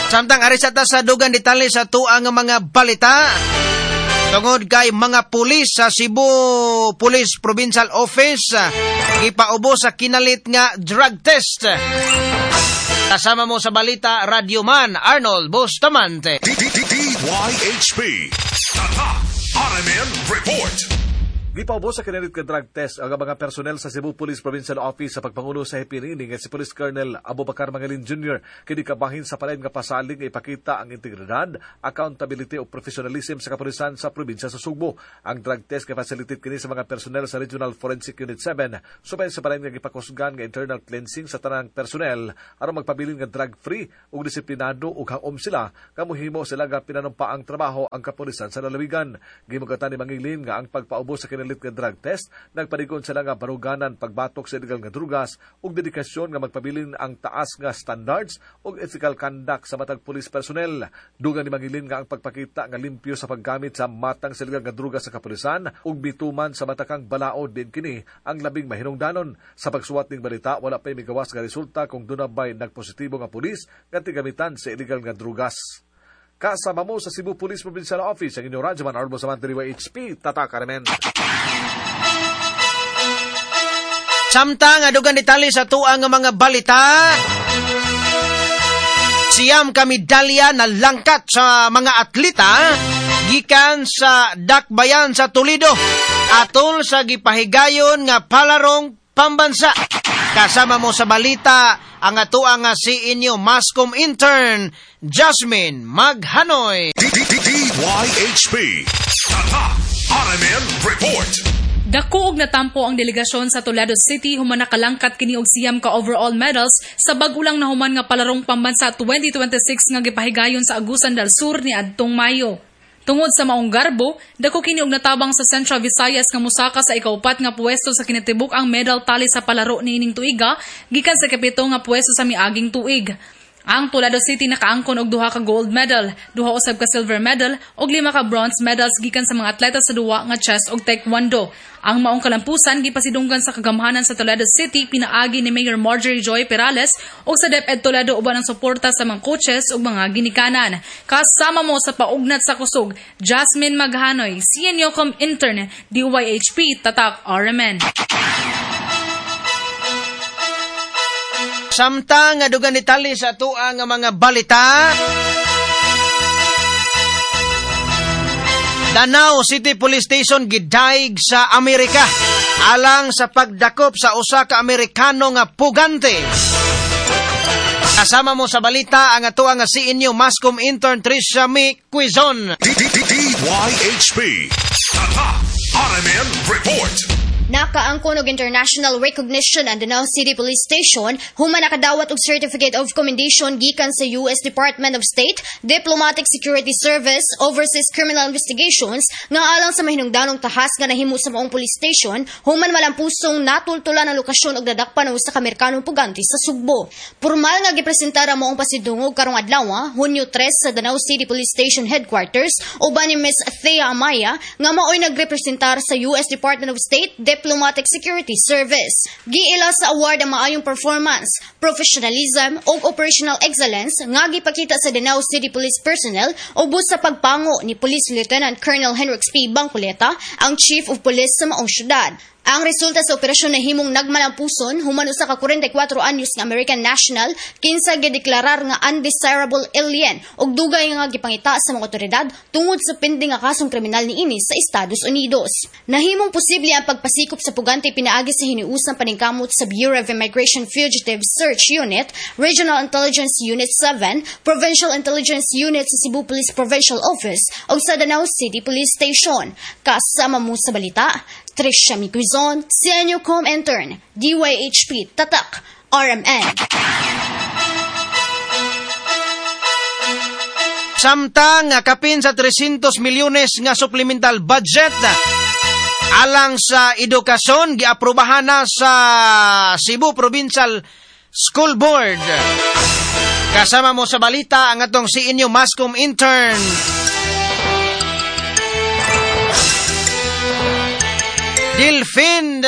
Samtang ari sa ta sa dugang detalye sa tuang nga mga balita tungod kay mga pulis sa Cebu Police Provincial Office gipaubos sa kinalit nga drug test. Kasama mo sa balita, Radyoman Arnold Bustamante. DYHP. Tatak RMN Report. Gipaubos sa kinalit nga drug test ang mga personnel sa Cebu Police Provincial Office sa pagpangulo sa hepe niini nga si Police Colonel Abubakar Mangalin Jr. Kini kabahin sa palain nga pasalig nga ipakita ang integridad, accountability o professionalism sa kapulisan sa probinsya sa Sugbo. Ang drug test kay facilitate kini sa mga personnel sa Regional Forensic Unit 7 subay sa palain nga gipakusgan nga internal cleansing sa tanang personnel aron magpabilin nga drug free ug disiplinado ug haom sila nga mohimo sila nga pinanumpaang trabaho ang kapulisan sa lalawigan. Gimugatan ni Mangilin nga ang pagpaubos sa kinalit nga drug test nagpanigon sila nga baruganan pagbatok sa illegal nga drugas ug dedikasyon nga magpabilin ang taas nga standards ug ethical conduct sa matag police personnel. Dugang ni Mangilin nga ang pagpakita nga limpyo sa paggamit sa matang sa illegal nga drugas sa kapulisan ug bituman sa matakang balaod din kini ang labing mahinungdanon. Sa pagsuwat ning balita, wala pay migawas nga resulta kung duna bay nagpositibo nga pulis nga tigamitan sa illegal nga drugas. Kasama mo sa Cebu Police Provincial Office ang inyong Radyoman Arnold Bustamante, DYHP, Tatak RMN. Samtang adugang detalye sa tuang nga mga balita, 9 ka medalya na langkat sa mga atleta gikan sa Dakbayan sa Toledo atol sa gipahigayon nga palarong pambansa. Kasama mo sa balita ang atoang nga si inyo Mascom intern Jasmine Maghanoy. DYHP. Tatak RMN Report. Dako og natampo ang delegasyon sa Toledo City human nakalangkat kini og 9 ka overall medals sa bag-o lang nahuman nga palarong pambansa 2026 nga gipahigayon sa Agusan del Sur ni adtong Mayo. Tungod sa maong garbo, dako kini og natabang sa Central Visayas nga mosaka sa ikaupat nga puwesto sa kinatibuk ang medal tally sa palaro niining tuiga gikan sa ikapito nga puwesto sa miaging tuig. Ang Toledo City nakaangkon og 2 ka gold medal, 2 usab ka silver medal ug 5 ka bronze medals gikan sa mga atleta sa duwa nga chess ug taekwondo. Ang maong kalampusan gipasidunggan sa kagamhanan sa Toledo City pinaagi ni Mayor Marjorie Joy Perales ug sa DepEd Toledo uban ang suporta sa mga coaches ug mga ginikanan. Kasama mo sa paugnat sa kusog, Jasmine Maghanoy, CNUCOM intern, DYHP, Tatak RMN. Samtang adugang detalye sa atoa nga mga balita, Danao City Police Station gidaig sa Amerika alang sa pagdakop sa usa ka Amerikano nga pugante. Kasama mo sa balita ang atoa nga si inyo Mascom intern Trisha Mi Quizon. DYHP. Tatak RMN Report. Nakaangkon og international recognition ang Danao City Police Station human nakadawat og Certificate of Commendation gikan sa US Department of State, Diplomatic Security Service, Overseas Criminal Investigations nga alang sa mahinungdanong tahas nga nahimo sa maong police station human malampusong natultulan ang lokasyon og dadakpan og usa ka Amerikanong pugante sa Sugbo. Pormal nga gipresentar ang maong pasidungog karong adlaw, Hunyo 3 sa Danao City Police Station Headquarters uban ni Miss Thea Amaya nga maoy nagrepresentar sa US Department of State, Diplomatic Security Service. Giila sa award ang maayong performance, professionalism ug operational excellence nga gipakita sa Danao City Police personnel ubos sa pagpango ni Police Lieutenant Colonel Henrix P. Bangkuleta, ang Chief of Police sa maong syudad. Ang resulta sa operasyon na himong nagmalampuson human usa ka 44 anyos nga American national kinsa gideklarar nga undesirable alien ug dugay nga gipangita sa mga otoridad tungod sa pending nga kasong kriminal niini sa Estados Unidos. Nahimong posible ang pagpasikop sa pugante pinaagi sa hiniusang paningkamot sa Bureau of Immigration Fugitive Search Unit, Regional Intelligence Unit 7, Provincial Intelligence Unit sa Cebu Police Provincial Office ug sa Danao City Police Station. Kasama mo sa balita, Trisha Mikuizon, CNUCOM intern, DYHP, Tatak, RMN. Samtang kapin sa 300 milyones nga supplemental budget alang sa edukasyon giaprobahan na sa Cebu Provincial School Board. Kasama mo sa balita ang atong si inyo Mascom intern Delphine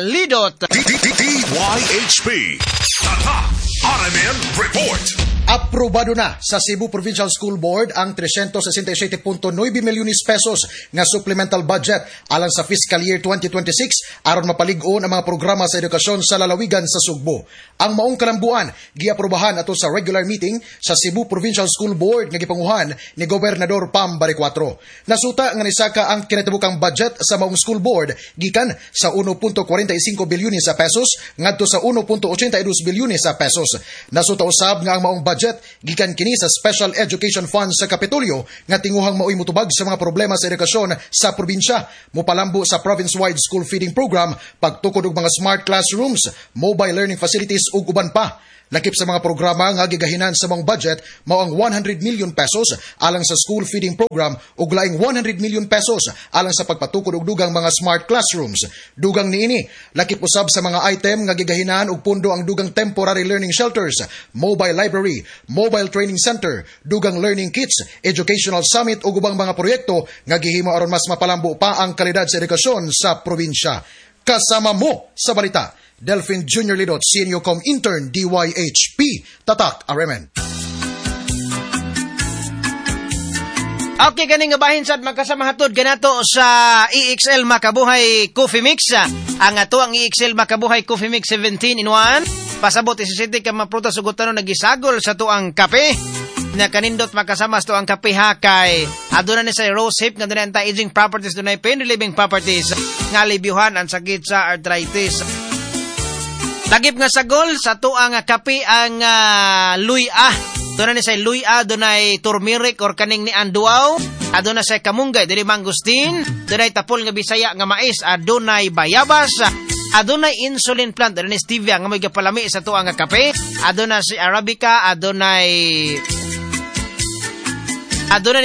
Lidot. DYHP. Tatak RMN Report. Aprobado na sa Cebu Provincial School Board ang 367.9 milyones pesos nga supplemental budget alang sa fiscal year 2026 aron mapalig-on ang mga programa sa edukasyon sa lalawigan sa Sugbo. Ang maong kalambuan giaprobahan ato sa regular meeting sa Cebu Provincial School Board nga gipanguhan ni Gobernador Pam Baricuatro. Nasuta nga nisaka ang kinatibukang budget sa maong school board gikan sa 1.45 bilyones sa pesos ngadto sa 1.82 bilyones sa pesos. Nasuta usab nga ang maong budget gikan kini sa Special Education Fund sa Kapitolyo nga tinguhang maoy motubag sa mga problema sa edukasyon sa probinsya, mopalambo sa province-wide school feeding program, pagtukod og mga smart classrooms, mobile learning facilities ug uban pa. Lakip sa mga programa nga gigahinan sa mga budget mao ang 100 million pesos alang sa school feeding program ug laing 100 million pesos alang sa pagpatukod og dugang mga smart classrooms. Dugang niini, lakip usab sa mga item nga gigahinan og pundo ang dugang temporary learning shelters, mobile library, mobile training center, dugang learning kits, educational summit ug ubang mga proyekto nga gihimo aron mas mapalambo pa ang kalidad sa edukasyon sa probinsya. Kasama mo sa balita, Delphin Junior Lidot, Senior Com Intern, DYHP, Tatak, RMN. Okay, ganing nga bahin sad magkasama hatod ganato sa EXL Makabuhay Coffee Mix. Ang ato ang EXL Makabuhay Coffee Mix 17 in 1. Pasabot 17 ka mga prutas ug tanon nagisagol sa tuang kape. Na kanindot makasama sa tuang kape ha kay aduna ni sa rose hip nga dunay anti-aging properties, dunay pain relieving properties nga alibyuhan ang sakit sa arthritis. Lagip nga sagol sa tuang kape ang luya. Doon na ni say luya, dunay turmeric or kaning ni anduaw, aduna say kamunggay, dunay mangustin, dunay tapol nga Bisaya nga mais, adunay bayabas, adunay insulin plant, dunay stevia nga may gapalami sa tuang nga kape, aduna si arabica, adunay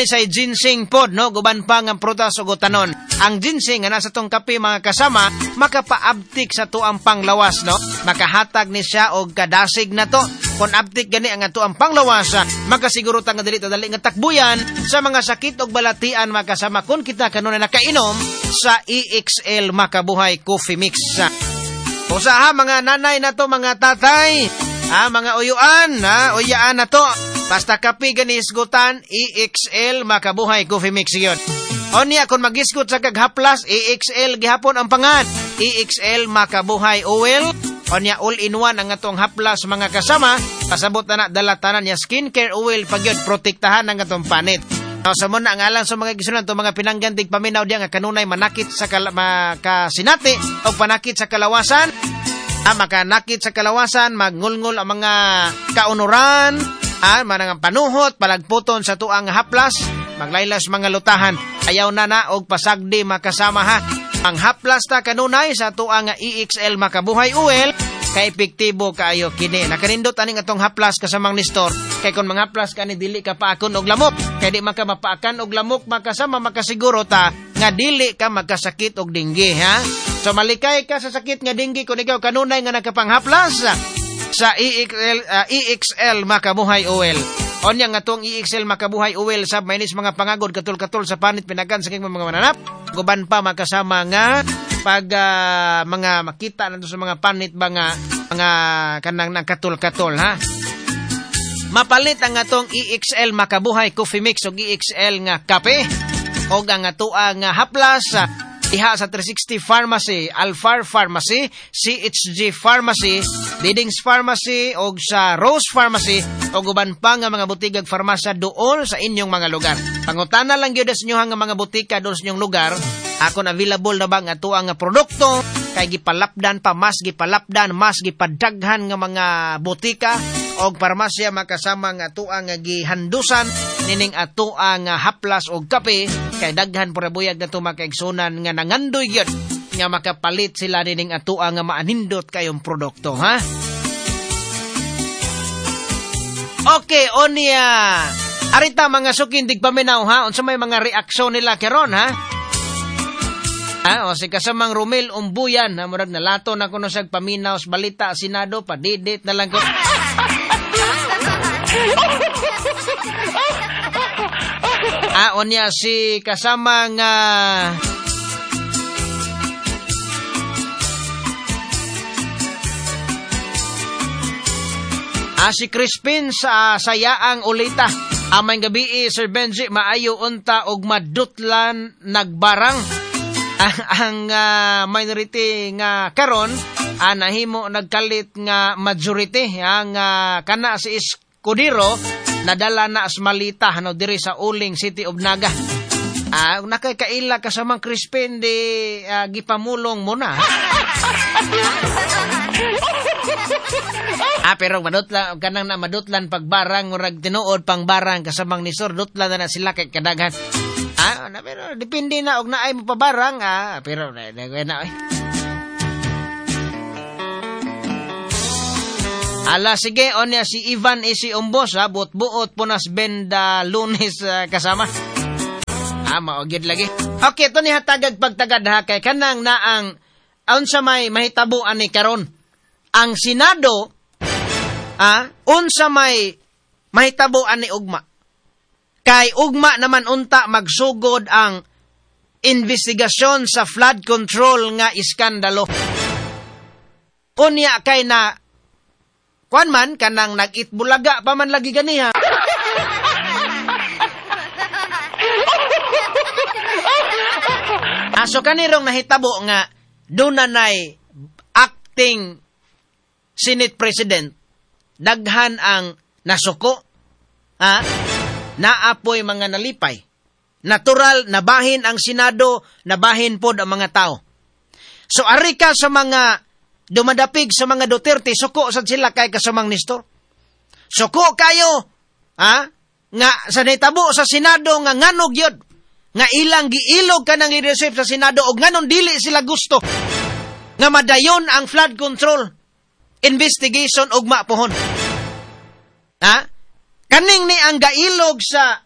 ni say ginseng pod, no, guban pa nga prutas ug tanon. Ang ginseng nga nasa tong kape mga kasama makapaabtik sa tuang panglawas, no, makahatag ni siya og kadasig na to. Kon abtik gani ang atuang panglawas, makasiguro ta nga dili ta dali nga takbuyan sa mga sakit og balatian makasama kon kita kanunay nakainom sa EXL Makabuhay Coffee Mix. Usaha mga nanay na to, mga tatay, ha, mga uyuan, ha, uyaan na to. Basta kape gani isgutan, EXL Makabuhay Coffee Mix yun. Onya, kung magisgot sa kaghaplas, EXL gihapon ang pangan. EXL Makabuhay Oil. Onya, all-in-one ang atong haplas mga kasama. Pasabot na dala tanan niya skincare oil pag yun, protektahan ang atong panit. Sa muna ang alang sa mga gisunan, itong mga pinanggandig paminaw diya nga kanunay manakit sa makasinati o panakit sa kalawasan. Makanakit sa kalawasan, magngulngul ang mga kaunuran, manang panuhot, palagputon sa tuang haplas, maglaylas mga lutahan. Ayaw na na og pasagdi makasama ha. Ang haplas ta kanunay sa tuang EXL Makabuhay Oil kay epektibo kaayo kini. Nakanindot aning atong haplas kasamang Nestor kay kon manghaplas kani dili ka paakon og lamok. Kay di man ka mapaakan og lamok makasama makasiguro ta nga dili ka magkasakit og dinggi ha. So malikay ka sa sakit nga dinggi kun ikaw kanunay nga nakapanghaplas sa EXL Makabuhay Oil. Onya nga tong EXL Makabuhay Oil sab mainis mga pangagod katul-katul sa panit pinagan sa king mga mananap. Guban pa makasama nga pag mga makita nato sa mga panit ba nga mga kanang nagkatul-katul ha. Mapalit ang atong EXL Makabuhay Coffee Mix og EXL nga kape og ang atoa nga haplas diha sa 360 Pharmacy, Alfar Pharmacy, CHG Pharmacy, Didings Pharmacy og sa Rose Pharmacy og uban pa nga mga butika ug farmasya doon sa inyong mga lugar. Pangutana lang gyud sa inyo nga mga butika doon sa inyong lugar, akon available na ba ang atoa nga produkto kay gipalapdan pa mas gipalapdan mas gipadaghan nga mga butika og parmasya makasama nga atoa nga gihandusan nining atoa nga haplas og kape kay daghan pura buyag na makaigsunan nga nangandoy gyud nga makapalit sila nining atoa nga maanindot kayong produkto ha. Okay, onya arita mga sukin digpaminaw ha, unsa may mga reaksyon nila karon ha? O si kasamang Romel Umbuyan ha, murag nalato na kuno siya paminaw sa balita Senado, padidit na lang ko. Onya si kasamang Si Crispin sa Sayaang Ulita. Amay gabi, Sir Benji, maayo unta og madutlan nagbarang. Ang minority nga karon nahimo nagkalit nga majority ang kana si Escudero nadala na asmalita no diri sa Uling City of Naga. Nakakaila kasamang Crispin di gipamulong mo na. Pero madutlan kanang na madutlan pagbarang murag tinuod pang barang kasamang ni Sir dutlan na sila kay kadaghan. Na, pero depende na og naay mo pabarang pero na na. Ala sige onya si Ivan isi umbos ha buot-buot punas benda Lunes kasama. Mao gyud lagi. Okay, to ni hatagag pagtagad ha kay kanang naang unsa may mahitabo ani karon. Ang Senado unsa may mahitabo ani ugma. Kay ugma naman unta magsugod ang investigasyon sa flood control nga iskandalo. Unya kay na kuan man kanang nag-itbulaga pa man lagi ganiha. So kanirong nahitabo nga dunanay acting Senate President, daghan ang nasuko, naapoy mga nalipay. Natural, nabahin ang Senado, nabahin pod ang mga tao. So ari ka sa mga dumadapig sa mga Duterte, suko sad sila kay kasamang Nestor. Suko kayo, nga sa nahitabo sa Senado nga nganog yun, nga ilang giilog ka ng leadership sa Senado og nganon dili sila gusto nga madayon ang flood control investigation og mapuhon. Kaning ni ang gailog sa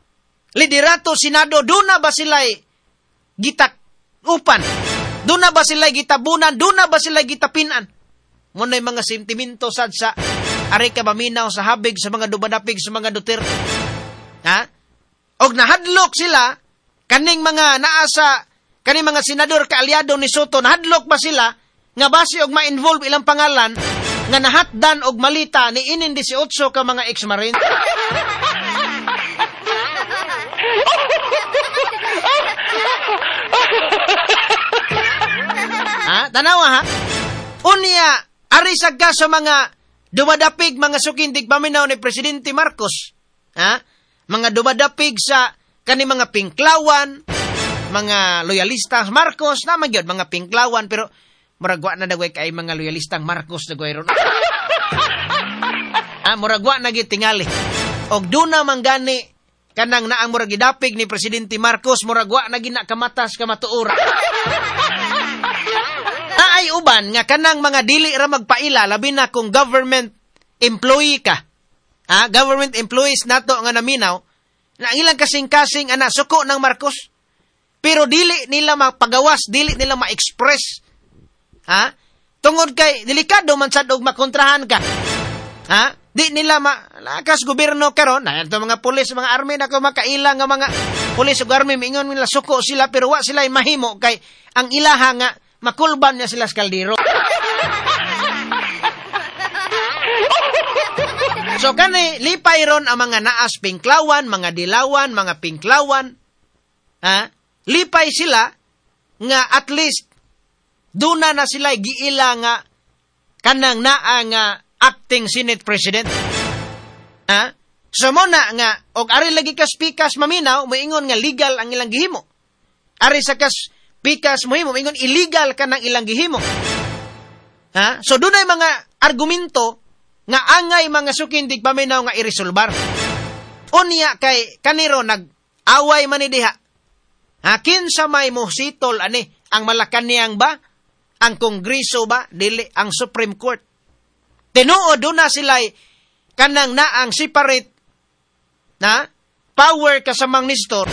liderato Senado, duna ba sila'y gitakupan? Duna ba sila'y gitabunan? Duna ba sila'y gitapinan? Muna'y mga sentimento sad sa ari ka maminaw sa habig sa mga dumadapig sa mga Duterte. Og nahadlok sila kaning mga naasa, kaning mga senador kaalyado ni Soto, nahadlok ba sila nga base og ma-involve ilang pangalan nga nahatdan og malita ni inin 18 ka mga ex-marine? Tanawa ha? Unya, ari sad ka sa mga dumadapig mga sukindig paminaw ni Presidente Marcos. Mga dumadapig sa kani mga pinklawan, mga loyalistang Marcos, naman yun, mga pinklawan, pero murag wa na dagway kay mga loyalistang Marcos dagway ron. Murag wa na gyud tingali. Og duna man gani kanang naang murag gidapig ni Presidente Marcos, murag wa na gina kamatas kamatuora. Naay uban nga kanang mga dili ra magpaila, labi na kung government employee ka. Government employees nato nga naminaw, na ang ilang kasing-kasing ana suko ng Marcos, pero dili nila mapagawas, dili nila ma-express. Tungod kay delikado man sad og makontrahan ka. Di nila malakas gobyerno karon, na ito mga pulis, mga army na ko makaila nga mga pulis ug army miingon nila suko sila pero wa sila mahimo kay ang ilaha nga makulban niya sila sa kaldero. So kani lipay ron ang mga naas pinklawan, mga dilawan, mga pinklawan. Lipay sila nga at least duna na sila giila nga kanang naa nga acting Senate President. So mo na nga og ari lagi kas pikas maminaw moingon nga legal ang ilang gihimo. Ari sa kas pikas mohimo moingon illegal kanang ilang gihimo. So dunay mga argumento nga angay mga sukindig paminaw nga iresolbar. Unya kay kaniro nag-away man ni diha. Kinsa may mohsitol ani ang Malacanang ba? Ang Kongreso ba? Dili ang Supreme Court. Tinuod duna sila'y kanang naang separate na power kasamang Nestor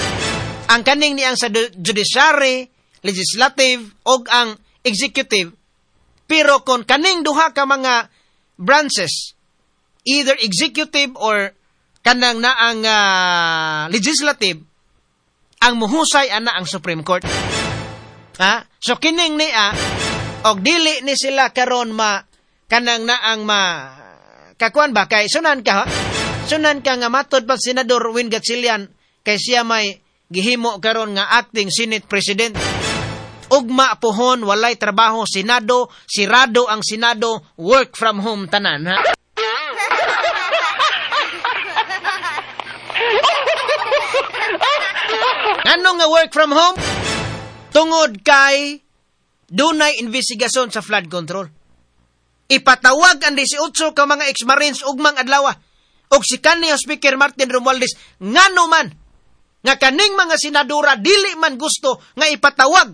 ang kaning niyang sa judiciary, legislative og ang executive. Pero kon kaning duha ka mga branches, either executive or kanang naang legislative, ang muhusay ana ang Supreme Court. So kining niya og dili ni sila karon ma kanang naang ma kakuan ba kay sunan ka, ha? Sunan ka nga matod pa Senador Win Gatchalian kay siya may gihimo karon nga acting Senate President. Ugma pohon walay trabaho Senado, sirado ang Senado, work from home tanan, ha. Ngano nga work from home? Tungod kay dunay investigasyon sa flood control. Ipatawag ang 18 ka mga ex-marines ugmang adlaw. Og si kanhi Speaker Martin Romualdez, ngano man nga kaning mga senadora dili man gusto nga ipatawag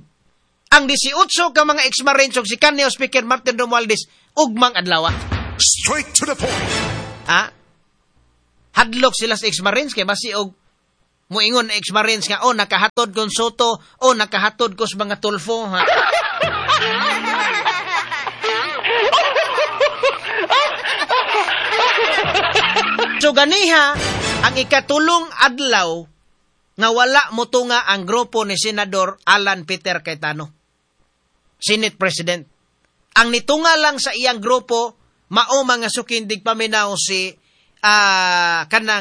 ang 18 ka mga ex-marines og si kanhi Speaker Martin Romualdez ugmang adlaw. Straight to the point. Ha? Hadlok sila sa ex-marines kay basi og muingon ex-marines nga oh nakahatod kon Soto, oh nakahatod ko sa mga Tulfo, ha. So ganiha ang ikatulong adlaw nga wala motunga ang grupo ni Senador Alan Peter Cayetano, Senate President. Ang nitunga lang sa iyang grupo mao mga sukindig paminaw si kanang